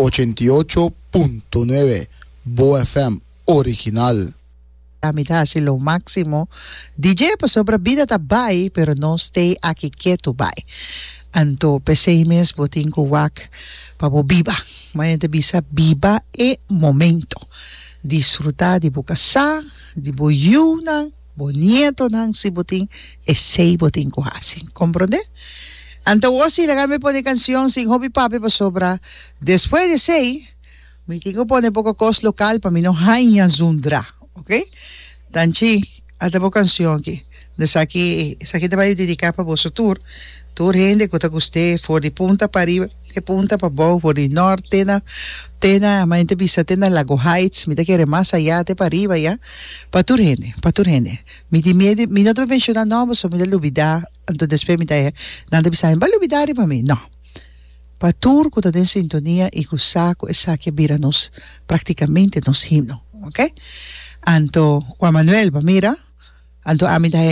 88.9 Bo FM original. Ami ta hasi lo máksimo di dje pasobra bida ta bai pero nos stay aki ketu bai. Anto p'esei mes bo tin ku wak pa bo biba. Mañana ta bisa biba e momento. Disfrutá di bo kasá, di bo yunan, bo nietonan si bo tin, esei bo tin ku hasi. Komprondé? Anto awor si laga mi pone kansion sin hopi papia pasobra despues di esei mi tin ku pone poko kos lokal pa mi no haña zundra. Ok? Tanchi, ata bo kansion aki. Esaki esaki ta bai dediká pa boso tur, tur hende ku ta gust'é for di punta pa riba te punta pa bou, for di nòrt te na te na manera ta bisa te na Lago Heights, mi ta kere mas ayá te pa riba ya, pa tur hende, pa tur hende. Mi tin miedu, mi no ta menshoná nòmber pasobra mi ta lubidá, anto despues mi ta nan ta bisa mi bo a lubidá riba mi, nò. Pa tur ku ta den sintonia i ku sa ku esaki a bira nos praktikamente nos himno, ok. Anto Juan Manuel, bo a mira? Anto ami ta haña.